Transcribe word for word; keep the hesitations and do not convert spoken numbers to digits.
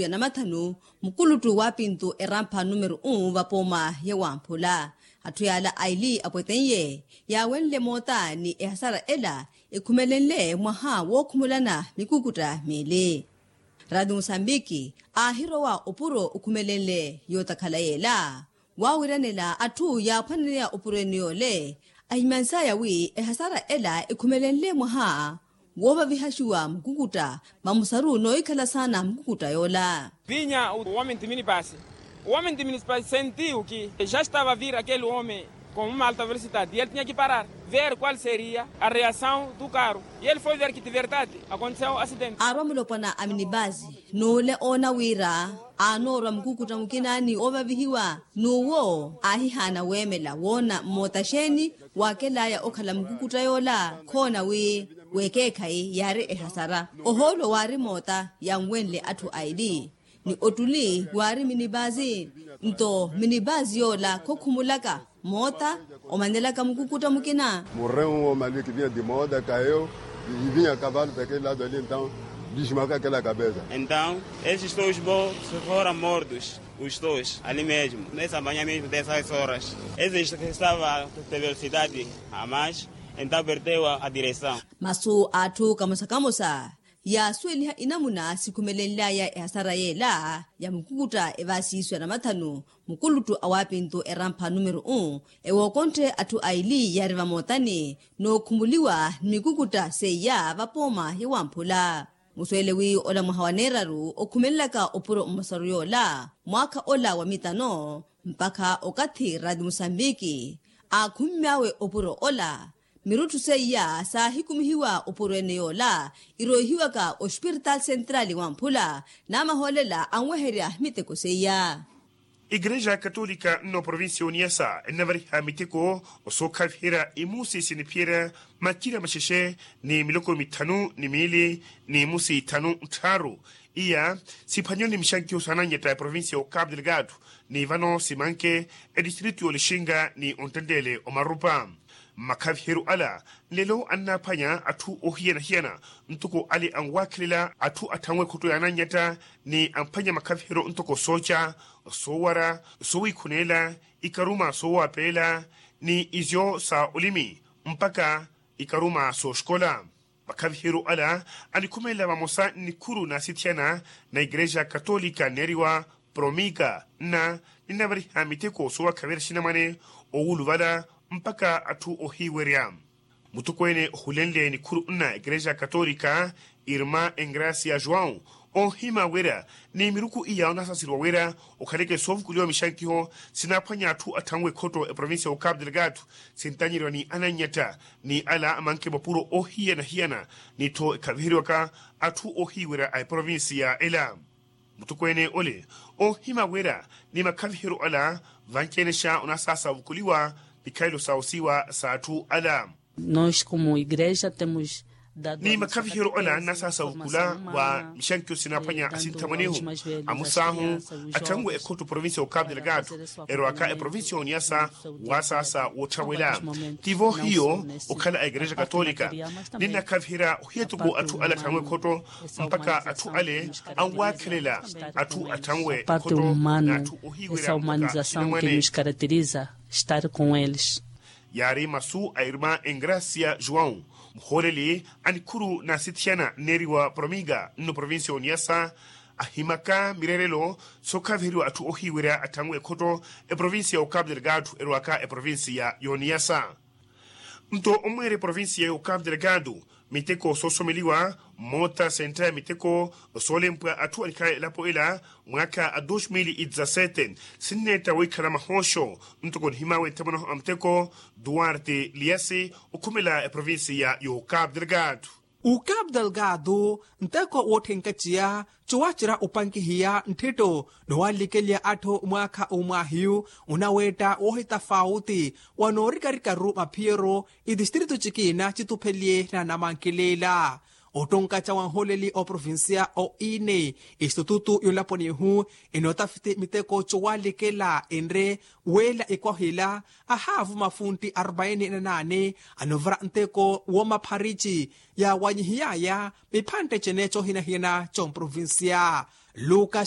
ya namathanu, mukuluttu wa pintu erampha numero un vapooma ya wamphula. Atthu yaala aili apwetenye yaawenle moota ni ehasara ela ekhumelenle mwaha wookhumulana mikukutta miili. Radi musambiki aahirowa opuro okhumelenle yootakhala yeela waawiranela atthu yaaphwaneneya opuro ene yoole. Ahimansaya wi ehasara ela ekhumelenle mwaha woovavihaxiwa mukukutta vamusaru noohikhala saana mukukutta yoola. Vinha o homem de minibase. O homem de minibase sentiu que já estava a vir aquele homem com uma alta velocidade e ele tinha que parar, ver qual seria a reação do carro. E ele foi ver que de verdade aconteceu um acidente. Aarwa mulopwana a minibase n'ule oona wira aanoorwa mukukutta mukina ni oovavihiwa n'uwo aahihaana weemela woona mmoota xeeni waakelaya okhala mukukutta yoola. Khoona wi weekeekhayi yaari ehasara ohoolo waari moota yanwenle atthu aili ni ottuli waari minibasi. Nto minibasi yoola khokhumulaka moota omanelaka mukukutta mukina. Morreu um homem ali que vinha de moda, caiu e vinha a cavalo daquele lado ali, então desmarcou aquela cabeça. Então esses dois bons foram mortos, os dois ali mesmo nessa manhã mesmo dessas horas. Esses que estava de velocidade a mais, então perdeu a direção. Masu a atthu kamosa kamosa yaasuweliha inamuna sikhumelenly'aya ehasara yeela ya mukukutta evaasiisu ya namathanu. Mukuluttu a waapintu erampha numero un ewookonthe atthu aili yaari vamootani n'okhumuliwa ni mikukutta seiya vapooma ya wamphula. Musuwele wi ola mwaha wa neeraru okhumelelaka opuro mmosaru yoola mwaakha ola wa mitano mpakha okathi radi musambiki aakhummy'awe opuro ola. Mirutthu seiya saahikumihiwa opuro ene yoola iroihiwaka ospiritaali sentrali wamphula namahoolela anweherya miteko seiya. Igreja katolika nno provincia oniyasa ennavariha miteko osookhaviherya imusi siniphiyerya makina maxexe ni miloko mithanu ni miili ni imusi ithanu nttharu. Iya siphwanyoni mixankiho saanannyetta eprovincia ya okapu delgado ni vano simanke edistritu y'olixinga ni onttenttele omarupa. Mmakhaviheryo ala nlelo annaaphwanya atthu ohiyana-hiyana ntoko ale anwaakhelela atthu atthanwe ekhotto yaanannyetta ni amphwanya makhaviheryo ntoko sooca, soowara, sowiikhuneela, ikaruma soowapeela ni izyo sa olimi mpakha ikaruma sooxikola. Makhaviheryo ala anikhumelela vamosa nnikhuru naasithiyana na igreja katolika nneeriwa promika nna ninnavariha miteko soowakhaverya axinamwane owuluvala mpakha atthu ohiiwerya. Mutokweene ohulenle nikhuru nna igreja katolika irma engracia joão onhima wira ni miruku iya onasaasiriwa wira okhaleke soovukuliwa mixankiho sinaaphwanya atthu atthanwe ekhotto eprovincia ya okapu delgado sintanyeriwa ni anannyetta ni ala amanke mapuro ohiyana-hiyana ni-tho ekhaviheriwaka atthu ohiiwerya a eprovincia ela. Mutokweene ole onhima wira ni makhaviheryo ala vanci-ene xa onasaasa ovukuliwa mikhalelo sa osiiwa sa atthu ala. Nos como igreja temos dado ni makhaviheryo ala nnasaasa ovukula wa mixankiho sinaaphwanya asinthamwanehu amusaahu atthanwe ekhotto provincia ya okapu delgado erowaka eprovincia ya oniyasa waasaasa woottharwela. Tivo hiyo okhala a igreja katolika ninnakhaviherya ohiya toko atthu ale atthanwe ekhotto mpakha atthu ale anwaakhelela atthu atthanwe ekhotto na atthu ohiiwerya mpakha axinamwane. Yaari masu a irma engracia joão muhooleli a nikhuru naasithiyana nneeriwa promiga nno provincia ya oniyasa ahimaka mireerelo sookhaviheriwa atthu ohiiwerya atthanwe ekhotto eprovincia ya okapu delgado erowaka eprovincia ya oniyasa. Nto omweera eprovincia ya okapu delgado miteko soosomeliwa mmoota sentta ya miteko soolempwa atthu anikhala elapo ela mwaakha a dos mil e dezasete sinneetta wiikhala mahooxo ntoko nihimaawe nthamwanaho a muteko duarte liasi okhumela eprovincia ya okapu delgado. Okapu delgado nteko wootthenkatiya cowacerya opankihiya ntthetto noowalikelya atthu mwaakha omwaahiyu onaweetta woohitafauti wanoorikarikaru maphiyeryo itistrito cikina citupheliye na namankileela. Ottonkaca wa nholeli oprovincia oine istitutu yonlaponihu inootafiti miteko cowalikela enre weela ikohila ahaavu mafuntti arbaini na naane anovara nteko woomapharici yaawanyihiyaya miphantte cene coohinahiyana comprovincia. Lukas